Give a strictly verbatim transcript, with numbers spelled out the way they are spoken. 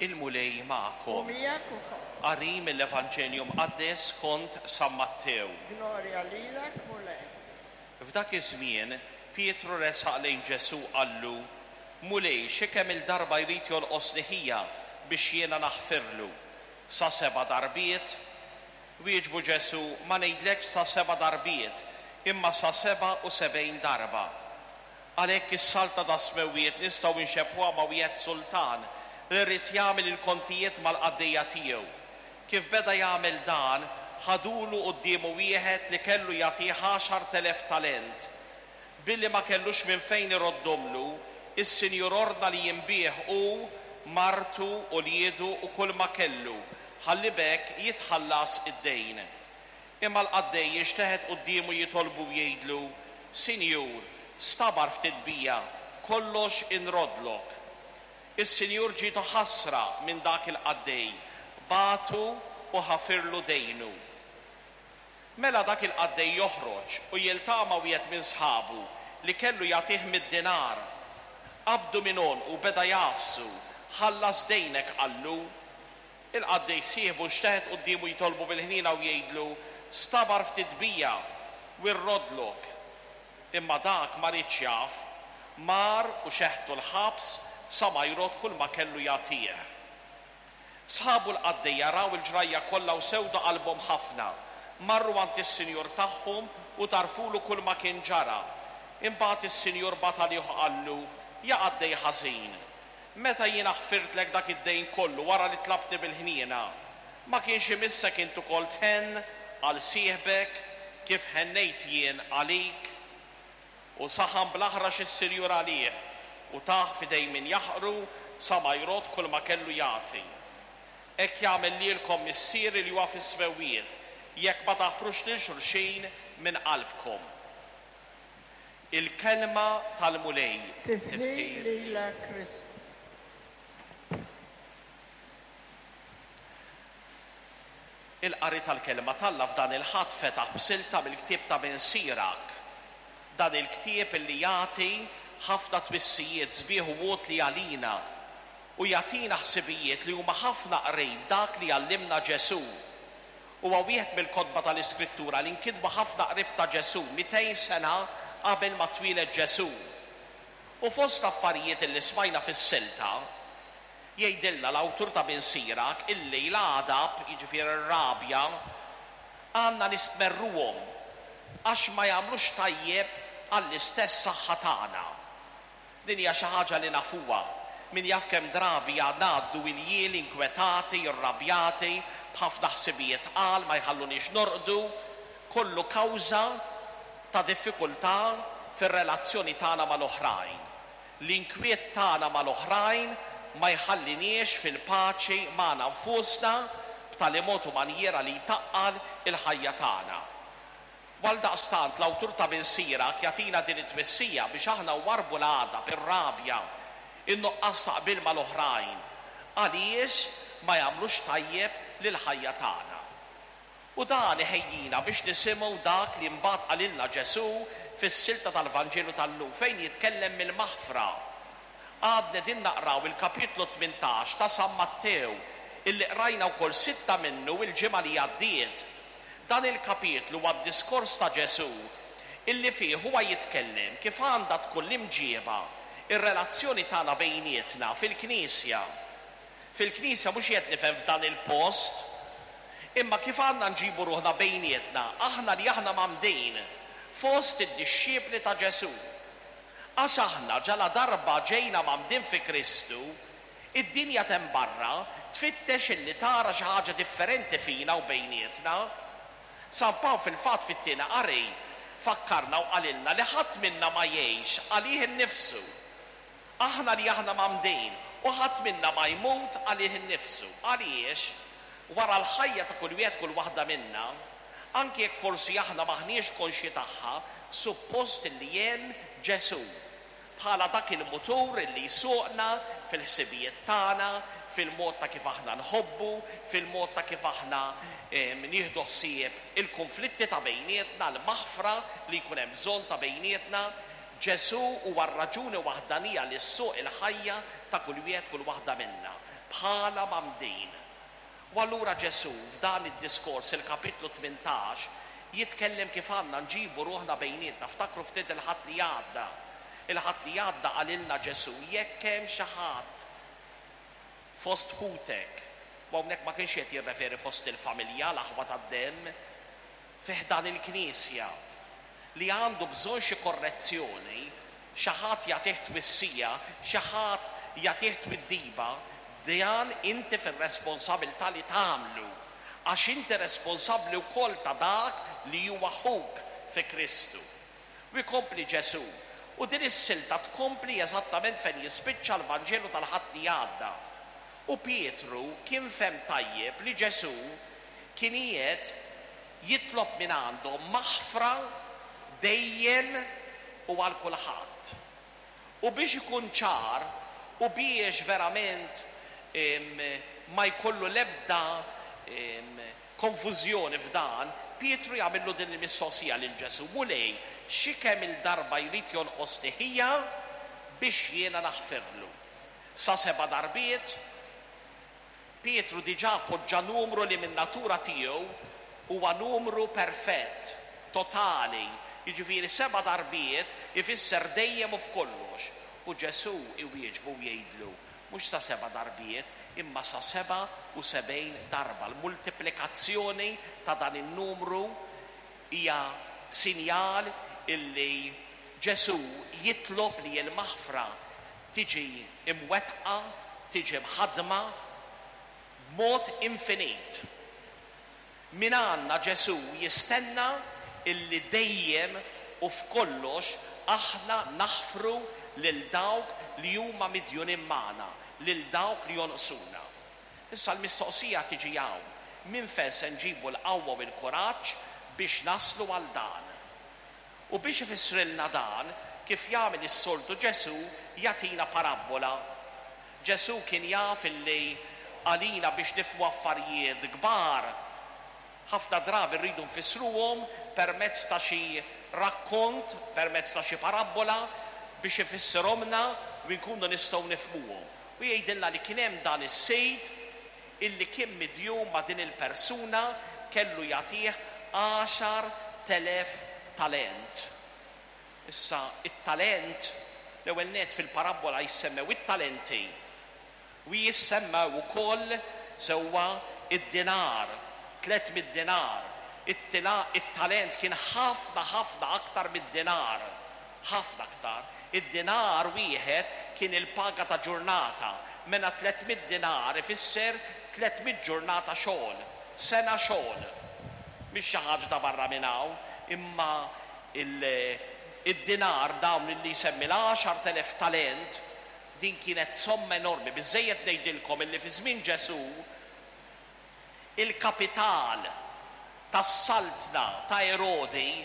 Il-Mulej U magħkom. Miegħek ukoll. Qari mill-Evanġelju Mqaddes skont San Mattew. Glorja lilek, Mulej. F'dak iż-żmien Pietru resaq lejn Ġesù, qallu: "Mulej, xi kemm il-darba jrid jonqosni ħija biex jiena naħfirlu? Sa seba' darbiet?" Wieġbu Ġesù: "Ma ngħidlekx sa seba' darbiet, imma sa seba' u sebgħin darba. Għalhekk is-saltna tas-smewwiet nistgħu nxebbhuha ma' wieħed sultan li rrid jagħmel il-kontijiet mal-qaddejja tiegħu. Kif beda jagħmel dan, ħadulu quddiemu wieħed li kellu jagħtih għaxart elef talent. Billi ma kellux minn fejn iroddomlu, is-sinjur ordna li jinbiegħ hu, martu, uliedu u kull ma kellu, ħalli b'hekk jitħallas id-dejn. Imma l-qaddej jinxteħet quddiemu jitolbu, jgħidlu: 'Sinjur, stabar ftit bija, kollox inrodlok.' Is-sinjur ġietu ħasra minn dak il-qaddej, bagħtu u ħafirlu dejnu. Mela dak il-qaddej joħroġ u jiltaqa' ma' wieħed minn sħabu li kellu jagħtih mitt dinar. Qabdu minn għonqu u beda jagħfsu. 'Ħallas dejnek,' qallu. Il-qaddej sieħbu nxteħet quddiemu jitolbu bil-ħniena u jgħidlu: 'Stabar ftit bija u rrodlok.' Imma dak ma riedx jaf, mar u xeħtu l-ħabs sa ma jrodd kull ma kellu jagħtih. Sħabu l-qaddejja raw il-ġrajja kollha u sewdu qalbhom ħafna. Marru għand is-sinjur tagħhom u tarfulu kull ma kien ġara. Imbagħad is-sinjur bagħat għalih, qallu: 'Ja qaddej ħażin, meta jiena ħfirtlek dak id-dejn kollu wara li tlabtni bil-ħniena, ma kienx imissek int ukoll tħenn għal sieħbek kif ħennejt jien għalik?' U saħan bl-aħrax is-sinjur għalih u tah f'idejn min jaħqru sa ma jrodd kull ma kellu jagħti. Hekk jagħmel lilkom Missieri li huwa fis-smewwiet jekk ma taħfrux lil xulxin minn qalbkom." Il-kelma tal-Mulej. Tifħir lilek, Kristu. Il-qari tal-kelma t'Alla f'dan il-Ħadd fetaħ b'silta mill-ktieb ta' Bin Sirak. Dan il-ktieb illi jagħti ħafna twissijiet sbieħ u utli għalina u jagħtina ħsibijiet li huma ħafna qrib dak li għallimna Ġesù. Huwa wieħed mill-kotba tal-Iskrittura li nkitbu ħafna qrib ta' Ġesù, mitejn sena qabel ma twieled Ġesù. U fost affarijiet li smajna fis-silta, jgħidilna l-awtur ta' Bin Sirak illi l-għadab, jiġifieri r-rabja, għandna nistmerruhom għax ma jagħmlux tajjeb għall-istess saħħa tagħna. Din hija xi ħaġa li nafuha. Min jaf kemm drabi ngħaddu iljieli inkwetati, irrabjati, b'ħafna ħsibijiet qal ma jħalluniex norqdu, kollu kawża ta' diffikultà fir-relazzjoni tagħna mal-oħrajn. L-inkwiet tagħna mal-oħrajn ma jħalliniex fil-paċi magħna nfusna b'tali mod u manjiera li jtaqqal il-ħajja tagħna. Għaldaqstant l-awtur ta' Bin Sirak jagħtina din it-twissija biex aħna warbu l-għadab, ir-rabja, in-nuqqas ta' qbil mal-oħrajn, għaliex ma jagħmlux tajjeb lill-ħajja tagħna. U dan iħejjina biex nisimgħu dak li mbagħad qalilna Ġesù fis-silta tal-Vanġelu tal-lum fejn jitkellem mill-maħfra. Għadna din naqraw il-kapitlu tmintax ta' San Mattew illi qrajna wkoll sitta minnu il-ġimgħa li għaddiet. Dan il-kapitlu huwa d-diskors ta' Ġesù illi fih huwa jitkellem kif għandha tkun l-imġieba, ir-relazzjoni tagħna bejnietna fil-Knisja. Fil-Knisja mhux qed nifhem f'dan il-post, imma kif għandna nġibu ruħna bejnietna, aħna li aħna mgħammdin fost id-dixxipli ta' Ġesù. Għax aħna ġala darba ġejna mgħammdin fi Kristu, id-dinja t'hemm barra tfittex illi tara xi ħaġa differenti fina u bejnietna. San Pawl fil-fatt fit-tieni qari fakkarna u qalilna li ħadd minna ma jgħix għalih innifsu. Aħna li aħna mgħammdin u ħadd minna ma jmut għalih innifsu. Għaliex wara l-ħajja ta' kull wieħed kull waħda minna, anke jekk forsi aħna maħniex konxji tagħha, suppost li hemm Ġesù bħala dak il-mutur illi jsuqna fil-ħsibijiet tagħna, fil-mod ta' kif aħna nħobbu, fil-mod ta' kif aħna, em, nieħdu ħsieb il-konflitti ta' bejnietna, l-maħfra li jkun hemm bżonn ta' bejnietna. Ġesù huwa r-raġuni waħdanija li ssuq il-ħajja ta' kull wieħed kull waħda minna. bħala mgħammdin. U allura Ġesù f'dan id-diskors, il-kapitlu tmintax, jitkellem kif għandna nġibu ruħna bejnietna. Ftakru ftit il-Ħadd li għadda. Il-Ħadd li għadda qalilna Ġesù, jekk hemm xi ħadd fost ħutek, u hawnhekk ma kienx qed jirreferi fost il-familja, l-aħwa tad-demm, fi ħdan il-Knisja, li għandu bżonn xi korrezzjoni, xi ħadd jagħtih twissija, xi ħadd jagħtih twiddiba, dan inti fir-responsabilità li tagħmlu, għax inti responsabbli wkoll ta' dak li huwa ħuk fi Kristu. U jkompli Ġesù, u din is-silta tkompli eżattament fejn jispiċċa l-Vanġelu tal-Ħadd li għadda. U Pietru kien fehem tajjeb li Ġesù kien qiegħed jitlob minn għandhom maħfra dejjem u għal kulħadd. U biex ikun ċar u biex verament ma jkollu l-ebda konfużjoni f'dan, Pietru jagħmillu din il-mistoqsija lil Ġesù: Mulej, xi kemm il-darba jrid jonqosni ħija biex jiena naħfirlu? Sa seba' darbiet? Pietru diġà poġġa numru li minn natura tiegħu huwa numru perfett, totali, jiġifieri seba' darbiet ifisser dejjem u f'kollox. U Ġesù iwieġbu u jgħidlu, mhux sa seba' darbiet, imma sa seba' u sebgħin darba. L-multiplikazzjoni ta' dan in-numru hija sinjal illi Ġesù jitlob li l-maħfra tiġi imwettqa, tiġi mħaddma b'mod infinit. Min għandna Ġesù jistenna illi dejjem u f'kollox aħna naħfru lil dawk li huma midjunin magħna, lil dawk li jonqsuna. Issa l-mistoqsija tiġi hawn, minn fejn se nġibu l-qawwa u l-kuraġġ biex naslu għal dan? U biex ifissrilna dan, kif jagħmel is-soltu Ġesù, jagħtina parabbola. Ġesù kien jaf illi għalina biex nifhmu affarijiet kbar, ħafna drabi rridu nfissruhom permezz ta' xi rakkont, permezz ta' xi parabbola, biex ifissirhomna u nkunu nistgħu nifhmuhom. U jgħidilna li kien hemm dan is-sejd illi kien midjun ma' din il-persuna, kellu jagħtih għaxar telef talent. Issa it-talent, l-ewwel net fil-parabbola jissemmew it-talenti u jissemmew ukoll sewwa id-dinar, tliet mitt dinar. It-talent kien ħafna ħafna aktar mid-dinar, ħafna aktar. Id-dinar wieħed kien il-paga ta' ġurnata, mela tliet mitt dinar ifisser tliet mitt ġurnata xogħol, sena xogħol. Mhix xi ħaġa ta' barra minn hawn, imma id-dinar dawn li jsemmi l-għaxar telef talent, din kienet somma enormi. Biżżejjed ngħidilkom illi fi żmien Ġesù il-kapital tas-saltna ta' Erodi